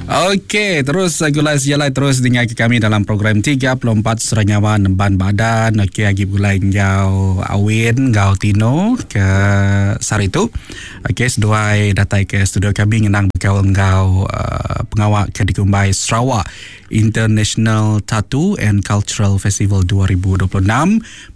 Okey, terus gulai sejalai terus dengar ke kami dalam program 34 Sera Nyawa Nemban Badan. Okey, agi begulai enggau Awin enggau Tino ke sehari tu. Okey, seduai datai ke studio kami ngenang bekaul enggau uh, pengawa ke dikumbai Sarawak International Tattoo and Cultural Festival 2026.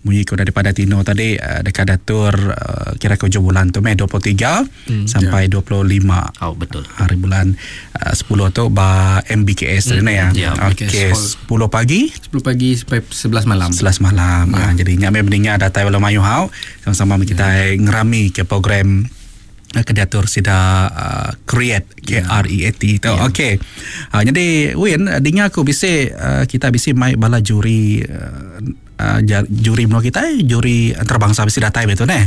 Munyi ke udah dipadah Tino tadi uh, deka diatur uh, kira ke ujung bulan tu meh 23 hmm, sampai yeah. 25. Oh betul. Hari bulan uh, 10 tu ba MBKS hmm, ya. Ya, Okey, 10 pagi 10 pagi sampai 11 malam. 11 malam. Yeah. Ha, jadi nya meh meninggal datai bala mayuh hau sama-sama kita yeah. ngerami ke program ke diatur sida uh, create K R E A T tu. Yeah. Okey. Uh, jadi Win dengar aku bisi uh, kita bisi mai bala juri uh, uh, juri menua kita juri antarabangsa bisi datai betul neh.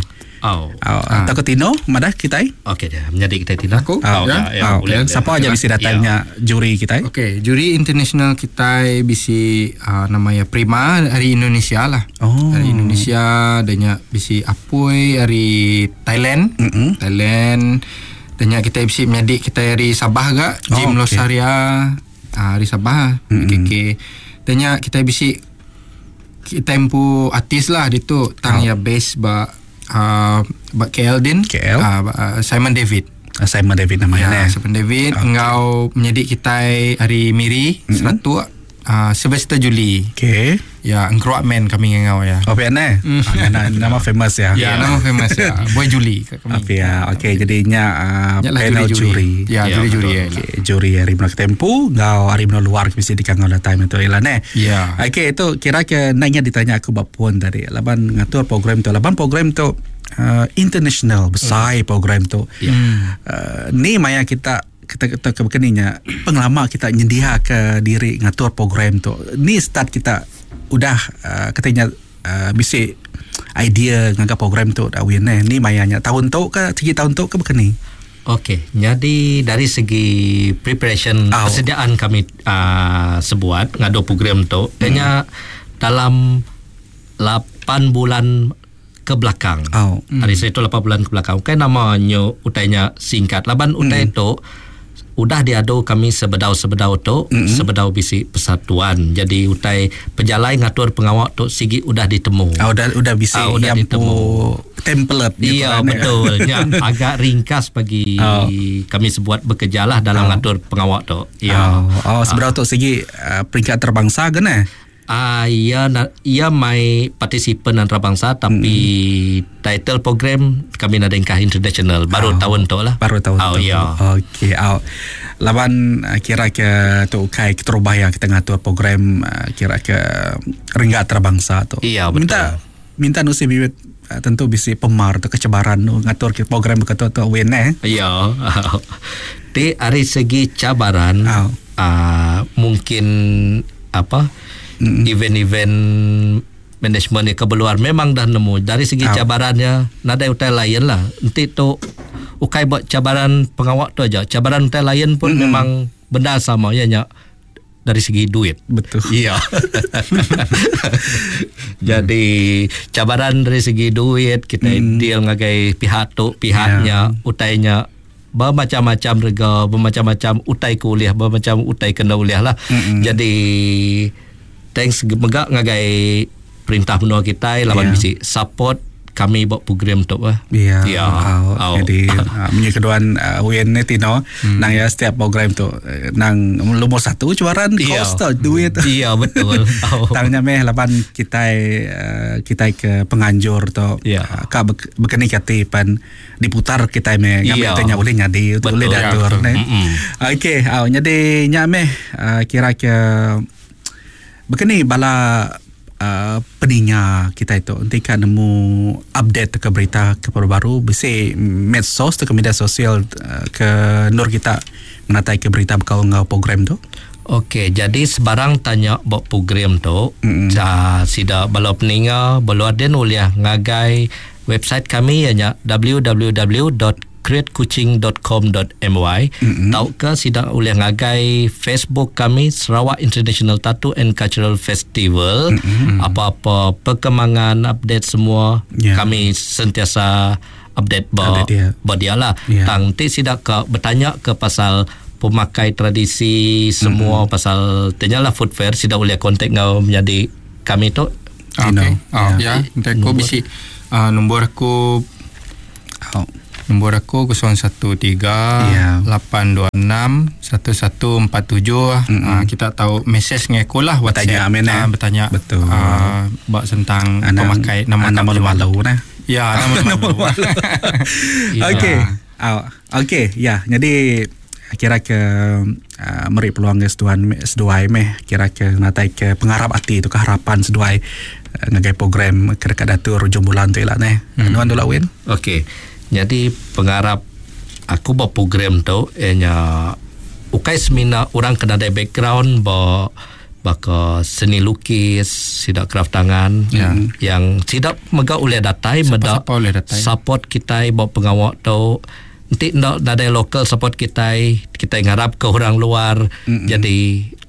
Oh. Uh, ah. Atau ke Tino madah kita? Okey dia menyadi kita Tino. Aku. Oh, ya. Ya, oh, boleh. Siapa aja bisi datai nya ya. juri kita? Okey, juri international kita bisi uh, namanya Prima dari Indonesia lah. Oh. Dari Indonesia dan bisi Apoi dari Thailand. Mm-hmm. Thailand dan kita bisi menyadi kita dari Sabah gak, Jim oh, okay. Losaria uh, dari Sabah, mm-hmm. KK. Dan kita bisi kita empu artis lah ditu tang oh. ya base ba uh, ba KL din KL uh, uh, Simon David Simon David namanya ya, Simon David okay. Engau menyadi kita hari Miri mm-hmm. Seratuk Sylvester Julie. Okey. Ya, engkeruak man kami ngau ya. Oh, PN eh? Ah, nama famous ya. Ya, nama famous ya. Boy Julie kami. Apa ya. Okey, jadinya panel juri. Ya, juri-juri ya. Okey, juri hari Menua Tempu ngau hari Menua luar mesti dikangau datai itu ilan eh. Ya. Okey, itu kira ke nanya ditanya aku bab puan tadi. Laban ngatur program tu. Laban program tu international besar program tu. Ya. Ni maya kita kita kita kebekeninya pengelama kita nyendia ke diri ngatur program tu. Ni start kita udah katanya bisi idea ngaga program tu dah win eh. Ni mayanya tahun tu ke segi tahun tu ke bekeni. Okey, jadi dari segi preparation persediaan kami sebuat ngadu program tu, hanya dalam 8 bulan ke belakang. Hari saya tu 8 bulan ke belakang. Kan namanya utainya singkat. Laban utai tu udah diadu kami sebedau-sebedau tu, sebedau bisi persatuan. Jadi utai pejalai ngatur pengawak tu sigi udah ditemu. Udah bisi udah yang ditemu template. Iya, betul. Ya, agak ringkas bagi kami sebuat bekerjalah dalam ngatur pengawak tu. Ya. Sebedau tu sigi peringkat antarabangsa ke ne? Ia mai partisipan antarabangsa tapi title program kami nak dengkah international baru tahun tu lah. Baru tahun tu. Ya. Okey, laban kira ke tu kai keterubah yang kita ngatur program kira ke renggat antarabangsa tu. Iya, betul. Minta nusi bibit tentu bisi pemar atau kecebaran ngatur ke program begitu tu win eh. Ya. Di hari segi cabaran mungkin apa event-event management ke keluar memang dah nemu dari segi cabarannya nadai utai lain lah. Nanti tu ukai buat cabaran pengawak tu aja, cabaran utai lain pun memang benda sama ya nya dari segi duit. Betul. Iya. Jadi cabaran dari segi duit kita deal ngagai pihak tu pihaknya utainya bermacam-macam rega, bermacam-macam utai kuliah, bermacam utai kena uliah lah. Jadi thanks megak ngagai perintah menua kita lawan bisi support kami buat program tu lah. Ya. Jadi punya keduan Win ni Tino nang ya setiap program tu nang lumur satu cabaran kos tu duit. Iya betul. Tangnya meh lapan kita kita ke penganjur tu ka bekeni kati pan diputar kita meh ngambil tanya boleh nyadi boleh diatur ne. Okey, jadi nya meh kira ke bekeni bala peninga kita itu nanti kan nemu update ke berita ke baru-baru bisi medsos ke media sosial ke nur kita menatai ke berita bekal ngau program tu. Okey, jadi sebarang tanya buat program tu sida bala peninga bala aden uliah ngagai website kami ianya www.createkuching.com.my tau ke sida uliah ngagai Facebook kami Sarawak International Tattoo and Cultural Festival. Apa-apa perkembangan update semua kami sentiasa update ba dia lah. Tang ti sida ke bertanya ke pasal pemakai tradisi semua mm-hmm. pasal tanya lah food fair sida boleh kontak ngau menyadi kami tu. Okey. Oh, ya, nanti aku bisi nombor aku nombor aku 013 826 1147. Kita tahu mesej dengan aku lah WhatsApp. Bertanya amin bertanya. Betul. Bak tentang pemakai nama malu-malu nah. Ya, nama malu-malu. Okey. Okey, ya. Jadi kira ke meri peluang ke seduan seduai meh kira ke natai ke pengarap hati tu ke harapan seduai ngagai program ke dekat datur hujung bulan tu lah neh. Nuan dulu Win. Okey. Jadi pengarap aku buat program tu ianya ukai semina orang kena ada background ba baka seni lukis, sidak craft tangan yang sidak mega oleh datai meda support kita buat pengawak tu. Nanti nak ada lokal support kita, kita ngarap ke orang luar. Mm-hmm. Jadi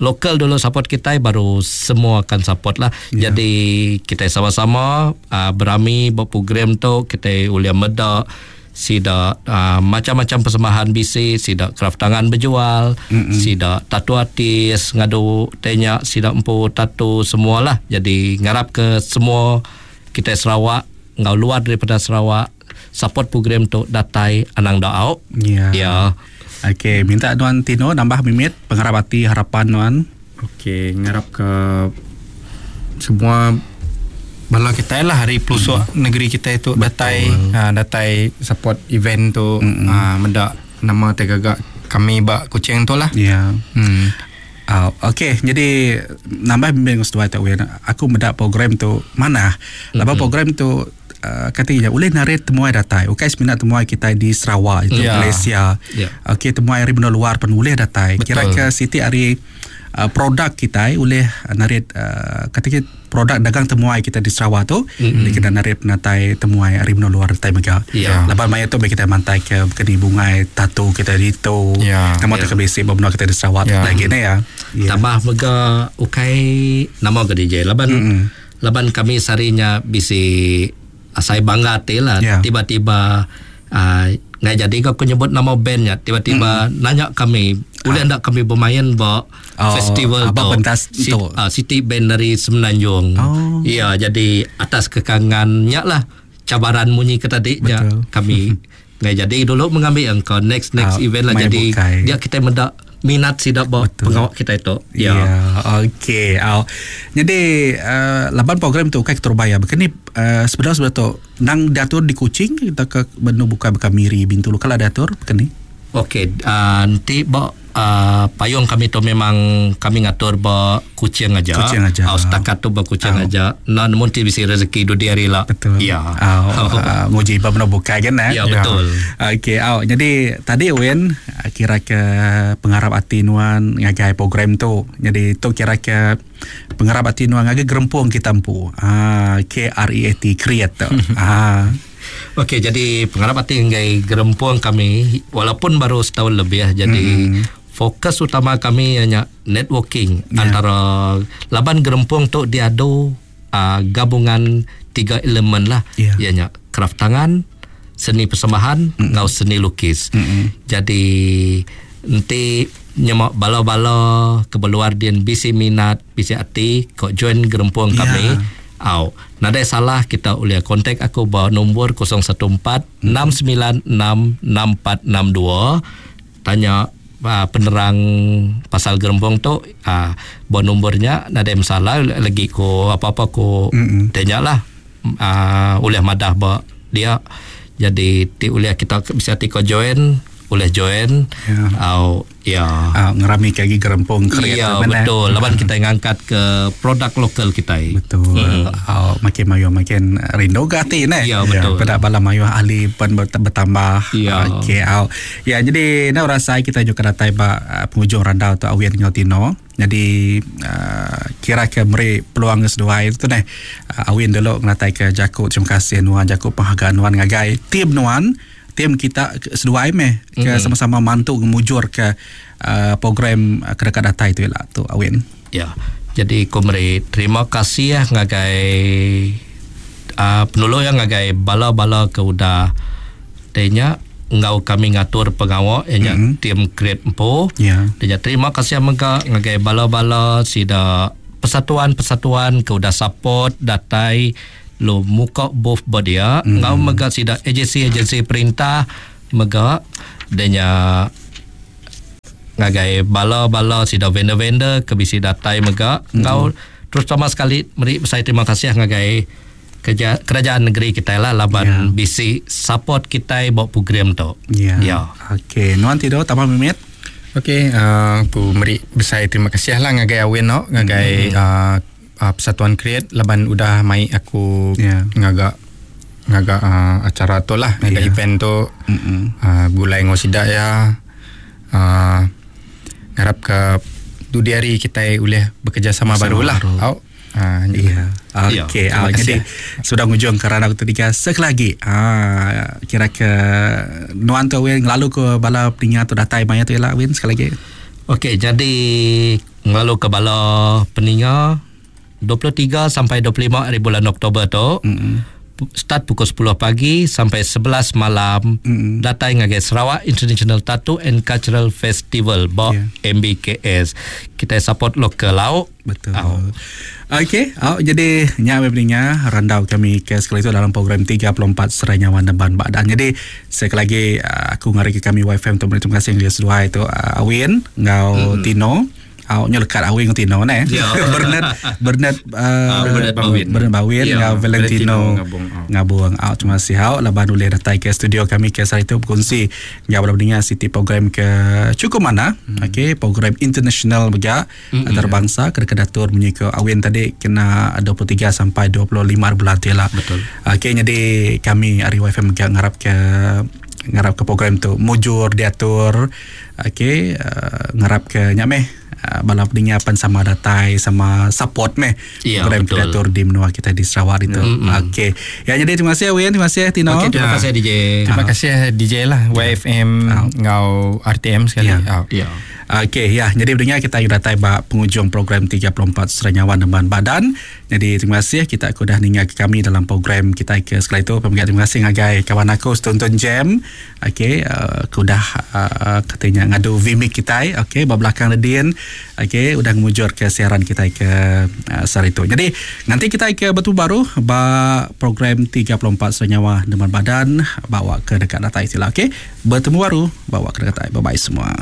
lokal dulu support kita baru semua akan support lah. Yeah. Jadi kita sama-sama berami buat program tu, kita boleh medak sidak macam-macam persembahan bisi, sidak craft tangan berjual, mm-hmm. sidak tattoo artis ngadu tanya sidak empu tattoo semualah. Jadi ngarap ke semua kita Sarawak ngau luar daripada Sarawak support program tu datai anang daau. Ya. Ya. Okey, minta Tuan Tino nambah mimit pengarap hati harapan tuan. Okey, ngarap ke semua bala kita lah hari pelosok negeri kita itu datai datai support event tu mendak nama tergagak kami bak Kuching tu lah. Ya. Okey, jadi nambah bimbing seduai tak wen. Aku mendak program tu mana? Lepas program tu katanya boleh narik temuai datai. Okey, seminat temuai kita di Sarawak itu Malaysia. Okey, temuai hari benua luar pun boleh datai. Kira-kira siti hari produk kita boleh narik kata produk dagang temuai kita di Sarawak tu mm-hmm. kita narik penatai temuai hari benua luar datai mega. Lepas maya tu kita mantai ke keni bungai tatu kita di tu. Nama tu ke basic benua kita di Sarawak lagi ni ya. Tambah mega ukai nama ke DJ. Laban laban kami sarinya bisi saya bangga hati lah. Tiba-tiba nggak jadi aku nyebut nama bandnya. Tiba-tiba nanya kami, boleh ndak kami bermain ba festival tu pentas tu City Band dari Semenanjung. Ya, jadi atas kekangannya lah cabaran munyi ke tadi nya kami nggak jadi dulu mengambil engkau next event lah. Jadi bukai. Dia kita mendak minat sidak bawa pengawak kita itu. Ya. Okey. Jadi laban program tu kai keterbaya. Bukan ni sebenarnya tu nang diatur di Kuching kita ke benu buka buka Miri Bintulu kalau diatur bukan ni. Okey, nanti bawa payung kami tu memang kami ngatur ba Kuching aja. Kuching aja. Setakat tu ba Kuching aja. Nah, mungkin bisa rezeki du diari lah. Betul. Ya. Nguji ba benu buka kan eh? Ya, betul. Okey, jadi tadi Wen kira ke pengarap hati nuan ngagai program tu. Jadi tu kira ke pengarap hati nuan ngagai gerempung kita empu. KREAT create tu. Okey, jadi pengarap hati ngagai gerempung kami walaupun baru setahun lebih jadi fokus utama kami hanya networking antara laban gerempung tu diadu gabungan tiga elemen lah. Ianya craft tangan, seni persembahan, ngau seni lukis. Jadi nanti nyemak bala-bala kebeluar din bisi minat, bisi hati kok join gerempung kami. Au, nadai salah kita boleh kontak aku ba nombor 014 696 6462 tanya penerang pasal gerembong tu ba nombornya nadai masalah lagi ko apa-apa ko tanyalah oleh madah ba dia. Jadi ti boleh kita bisa ti ko join boleh join. Ngerami lagi gerempung kreatif. Ya, betul. Laban kita ngangkat ke produk lokal kita. Betul. Makin mayu makin rindu ke hati ne. Ya, betul. Pada bala mayu ahli pun bertambah. Ya. Okey. Ya, jadi nak rasa kita juga datai ba penghujung randau tu Awian ngau Tino. Jadi kira ke meri peluang ke seduai tu neh. Awin dulu ngatai ke Jakub terima kasih nuan Jakub penghargaan nuan ngagai tim nuan. Tim kita seduai meh ke sama-sama mantu ngemujur ke program kedekat data itu lah tu Awin. Ya. Jadi ku meri terima kasih ya ngagai penolong yang ngagai bala-bala ke udah tanya enggau kami ngatur pengawa iya nya mm-hmm. tim Create empu. Yeah. Dia terima kasih mega ngagai bala-bala sida persatuan-persatuan ke udah support datai lu muka booth ba dia mm-hmm. enggau mega sida agensi-agensi perintah mega dia nya ngagai bala-bala sida vendor-vendor ke bisi datai mega enggau mm-hmm. terutama sekali meri besai terima kasih ngagai kerja, kerajaan negeri kitai lah laban yeah. bisi support kitai ba program tu. Ya. Yeah. Yeah. Okey, nuan tidur tambah mimit. Okey, aku meri besai terima kasih lah ngagai Awin no, ngagai mm-hmm. Persatuan Create laban udah mai aku yeah. ngaga ngaga acara tu lah, ngaga yeah. event tu. Mm-hmm. Gulai ngau sida ya. Ngarap ke dudi hari kita boleh bekerjasama baru lah. Au. Ya. Okey, ya, jadi sudah ngujung ke ranau ketiga sekali lagi. Kira ke nuan tu Win lalu ke bala peninga tu datai maya tu ialah Win sekali lagi. Okey, jadi lalu ke bala peninga 23 sampai 25 hari bulan Oktober tu. Mm-hmm. Start pukul 10 pagi sampai 11 malam mm-hmm. datai ngagai Sarawak International Tattoo and Cultural Festival ba yeah. MBKS. Kita support lokal lau. Betul. Oh. Okey, oh, jadi nya peninga randau kami ke sekali itu dalam program 34 Serai Nyawa Neban Badan. Jadi sekali lagi aku ngari ke kami YFM untuk beri terima kasih ngagai seduai tu Awin ngau Tino. Awaknya lekat Awin ngau Tino ne. Yeah. Bernard Bernard Bernard Bawin. Bernard Bawin yeah. ngau Valentino Ngabung. Ngabung. Awak terima kasih awak laban boleh datang ke studio kami ke hari itu berkongsi ngau bala peninga siti program ke cukup mana. Okey, program international juga antarabangsa ke kedatur munyi ke Awin tadi kena 23 sampai 25 bulan tu lah. Betul. Okey, jadi kami ari YFM juga ngarap ke program tu mujur diatur. Okey, ngarap ke nya meh bala peninga pan sama datai sama support meh ya, program diatur di menua kita di Sarawak itu. Okey. Ya, jadi terima kasih Win, terima kasih Tino. Okey, terima kasih DJ. Terima kasih DJ lah YFM ngau RTM sekali. Ya. Ya. Okey, ya. Jadi pendengar kita datai ba penghujung program 34 Serai Nyawa Neban Badan. Jadi terima kasih kita sudah ninga ke kami dalam program kita ke sekali itu. Pemegang terima kasih ngagai kawan aku Tonton Jam. Okey, udah katanya ngadu Vimic kita. Okey, ba belakang Ledin. Okey, udah ngemujur ke siaran kita ke sehari itu. Jadi nanti kita ke betul baru ba program 34 Serai Nyawa Neban Badan bawa ke dekat datai sila. Okey, bertemu baru bawa ke dekat. Bye bye semua.